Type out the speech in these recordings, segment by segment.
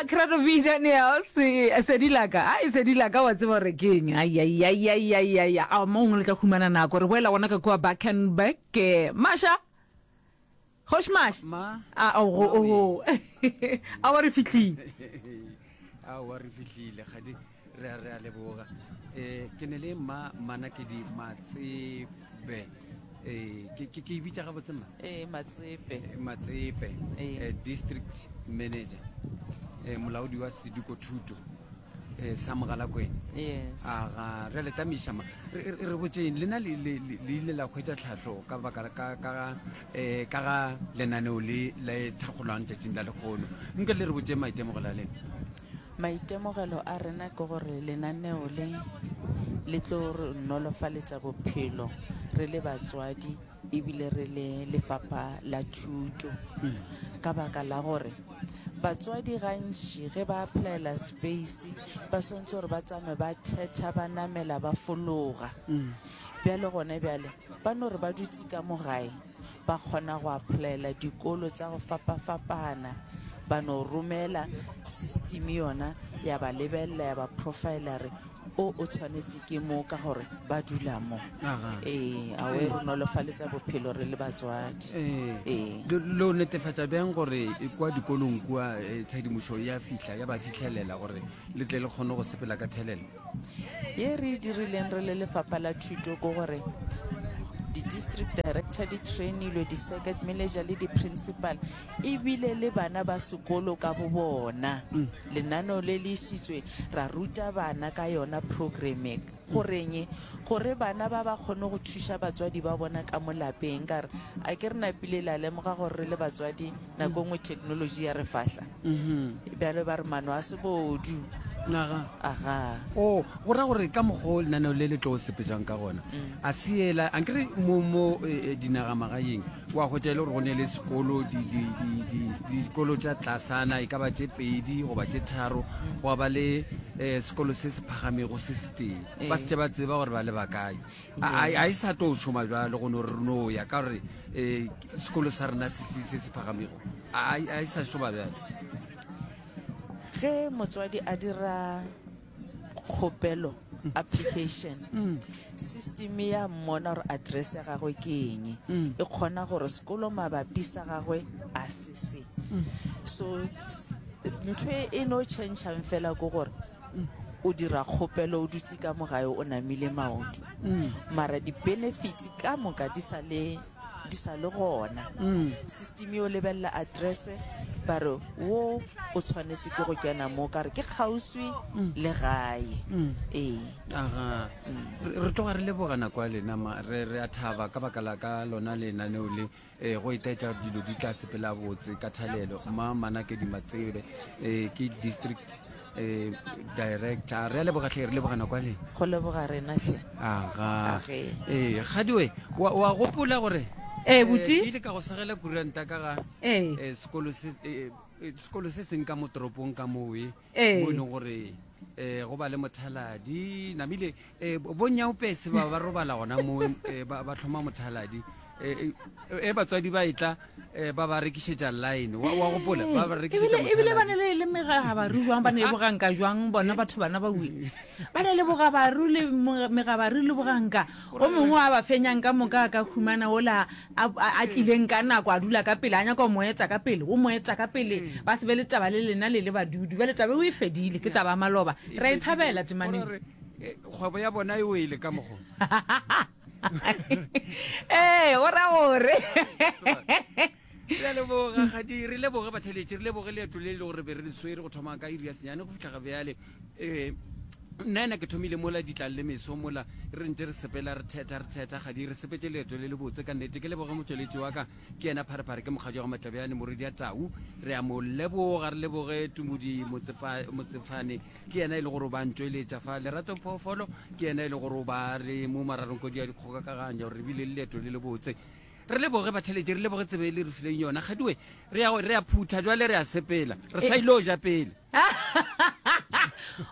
A Credo B Daniels Sedilaka a e Sedilaka wa tseba gore ke eng ai a mo gongwe le tla humana nako re boela gona ka kua Bakenberg ke Masha Kgoši Masha Ma a ogo ogo a wa re fihlile aowa re fihlile kgadi re a re a leboga um ke ne le mma mmanakedi matsebe um ke ke ke e bitša gabotse mma Ee, Matsepe. Eh, Matsepe Ee. eh, district manager eh, molaodi wa sediko thuto eh, sa Mogalakwena Yes. aga re le tamiša ma re re- re botšeng lena le le- le le ile la hwetša tlhahlo ka baka ka ka ga eh, ka ga lenaneo le le thakgolwang tšatšing la lekgono nke le re botšeng maitemogelo a lena Maitemogelo a rena ke gore lenaneo le le tlo re nolofaletša bophelo re le batswadi ebile re le lefapha la thuto ka baka la gore batswadi gantši ge ba applyela space ba swantse gore ba tsame ba thetha ba namela ba fologa. Bjale gone bjale ba no re ba dutse ka mo gae ba kgona go applyela dikolo tša go fapafapana ba no romela system yona ya ba lebelela ya ba profiler re o o tshwanetse ke mo ka gore ba dula mo. Aga. Ee, a we re nolofaletsa bophelo re le batswadi. Ee. Ee. Le lo netefatša bjang gore kwa dikolong kua eh, tshedimošo ya fihla ya ba fihlelela gore le tle le kgone go sepela ka thelelo? Ye re e dirileng re le lefapha la thuto ke gore di-district director di trainilwe, di-circuit manager le di-principal ebile le bana ba sekolo ka bo bona. Lenaneo le le išitšwe ra ruta bana ka yona program e. Goreng? Gore bana ba ba kgone go thuša batswadi ba bona ka mo lapeng. Ka re a ke re napile la lemoga gore re le batswadi nako e nngwe technology ya re fahla. Bjale ba re mano a sebodu. Aga. Aga. O, go ra gore ka mokgwa o lenaneo le le tlo sepetšang ka gona, a se ela, ankere mo, mo eh, eh, dinagamagaeng wa hwetša e le gore go ne le sekolo, di, di, di, di, dikolo tša tlasana e ka ba tše pedi goba tše tharo, gwa ba le eh, sekolo se se phagamego se setee. Ba se tše ba tseba gore ba le bakae. A, a, a e sa tlo šoma bjalo go no re re no ya ka gore eh, sekolo sa rena se, se, se se phagamego. A, a, a e sa šoma bjalo. Ge motswadi a dira kgopelo, application, system ya mmona gore address ya gagwe ke eng, e kgona gore sekolo mabapi sa gagwe a se se. So ntho e e no tšhentšhang fela ke gore o dira kgopelo o dutse ka mo gae o namile maoto, mara di-benefits ka moka di sa le di sa le gona. System yo lebelela address ba re wo o tshwanetse ke go kena mo ka re ke kgauswi le gae. Ee. Aga. Re tloga re leboga nako ya lena ma re re a thaba ka baka la ka lona lenaneo le eh, go itaetša dilo di tla sepela botse ka thalelo ma Manakedi Matsebe eh, ke district eh, director re a leboga tlhe re leboga nako ya lena Go leboga rena hle. aga Age. ee gadiwe wa, wa gopola gore Ee, eh, buti. ke ile ka go segela kuranta ka ga Ee. eh, sekolo se eh, eh, sekolo se seng ka mo toropong ka mowe Ee. mo e leng gore eh go ba le mothaladi namile eh bonyaopese ba ba robala gona mo eh, ba ba tlhoma mothaladi eh eh batswadi ba etla eh, ba ba rekišetša line wa wa gopola ba ba rekišetša ebile ebile ba ne mothaladi le le megabaru jwang ba ne le boganka jwang bona batho bana ba wile ba ne le bogabaru le mo- megabaru le boganka o mongwe a ba fenyang ka moka a ka humana ola a a tlileng ka nako a dula ka pele a nyaka o mo eta ka pele o mo eta ka pele ba se be le taba le lena le le badudi bjale taba eo e fedile ke taba ya maloba re a e thabela temaneng Gore, eh, kgwebo ya bona e wele ka mogo ee go ra gore re a leboga gadi re leboge batheletši re leboge leeto le e le gore be re le swere go thoma ka iri ya senyane go fihla ga bjale um nna ena ke thomile mola ditlang le meso mola re ntse re sepela re thetha re thetha gadi re sepetse leeto le le botse ka nnete ke leboge motšweletši wa ka ke yena pharephare ke mokgadi wa go matlabjane moredi ya tau re a mo leboga re leboge tumodi motsefane ke yena e le gore o ba ntšweletša fa lerato phoofolo ke yena e le gore o ba re mo mararong kodi ya dikgokakaganya gore re bile le leeto le le botse re leboge batheletši re leboge tsebe e le re fileng yona gadiwe re ya re ya phutha jwale re a sepela re sa ile o ja pele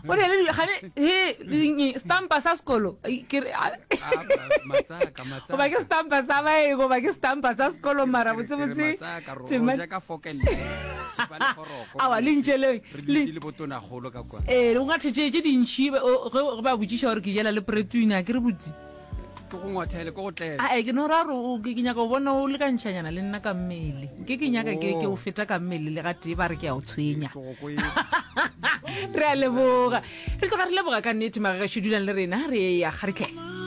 o ne le gane he eng, stampa sa sekolo Ai, ke re a- Ah, matsaka matsaka goba ke stampa sa baeng goba ke stampa sa sekolo mara Ke re- ke re botsebotse matsaka, ro- tema- ro ja ka fork and knife. Thipa le foroko. Aowa, le ntšeleng. Re Le- dutše le botonagolo ka kwa. Ee, o ngathe tše tše dintšhi be- o- ge ge ba botšiša gore ke jela le pretwina, ke re botse. Ke go ngwathele, ke go tlele. Ae, ke no ra gore o- ke ke nyaka go bona o lekantšhanyana le nna ka mmele. Nke ke nyaka ke ke o feta ka mmele le gatee ba re ke a o tshwenya. Ke go kwele. Re a leboga. Re tloga re leboga ka nnete magagešo dulang le rena re ya kgaritlhe.